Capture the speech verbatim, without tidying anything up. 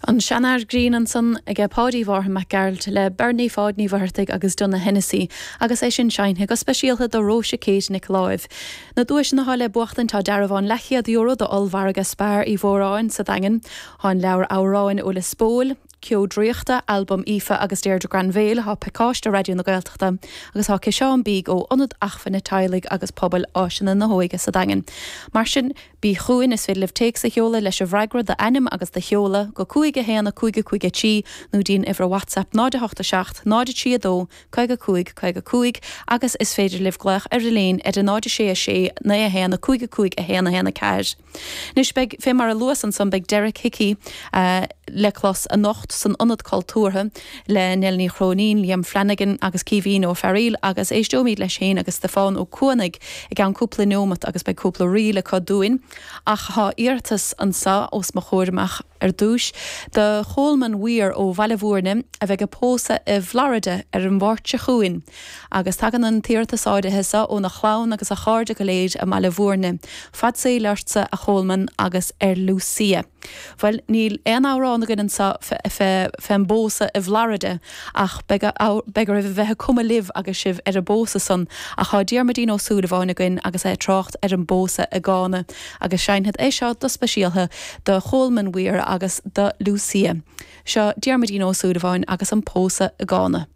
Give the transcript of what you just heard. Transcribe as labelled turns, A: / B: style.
A: An Seanfhear Grinn ansan aige Páidí Mhárthain Mac Gearailt le Bernie Pháid Ní Mhuircheartaigh agus Donogh Hennessy agus é sin seinnithe go speisialta do Róise Kate Nic Láimh. Na duaiseanna atá le buachtaint tá dearbhán leathchéad euro do ollmhargadh Spar Uí Mhóráin sa Daingean, Tá an leabhar amhráin ó Lios Póil, Ceo Draíochta, albam Aoife agus Deirdre Granville tá pacáiste Raidió na Gaeltachta agus tá ciseán bídh ó Ionad Acmhainne Teaghlaigh agus Pobail Áiseanna na hÓige sa Daingean. Mar sin bí chugainn is féidir libh téacs a sheoladh leis an bhfreagra d'ainm agus do sheoladh go cúig a haon a cúig a cúig a trí nó dtí'n uimhir WhatsApp náid a hocht a seacht náid a trí a dó caoga cúig caoga cúig agus is féidir libh glaoch ar an líne ar a náid a sé a sé naoi a haon a cúig a cúig a haon a haon a ceathair. Anois beidh fé mar a luas ansan beidh Derek Hickey uh, le clos anocht san Ionad Cultúrtha le Nell Ní Chróinín, Liam Flanagan agus Caoimhín Ó Fearghaíl agus éisteoimid leis féin agus Stiofán Ó Cuanaigh i gceann cúpla nóiméad agus beidh cúpla ríl acu dúinn. Ach tá iarratas anseo os mo chomhair amach ar dtús do Cholman Weir ó Bhaile Bhúirne a bheidh ag pósadh i bhFlorida ar an Mháirt seo chugainn. Agus tagann an t-iarratas áirithe seo óna chlann agus a chairde go léir i mBaile Bhúirne. Fad saoil ortsa a Cholman agus ar Lucia. Well níl aon amhrán againn anseo fén bpósadh i bhFlorida ach beidh oraibh a bheith ag cumadh libh agus sibh ar an bpósadh san ach tá Diarmuidín Ó Súilleabháin againn agus é ag trácht ar an bpósadh i gCána agus seinnfead é seo go speisialta do Cholman Weir agus do Lucia. Seo Diarmuidín Ó Súilleabháin agus an pósadh i gCána.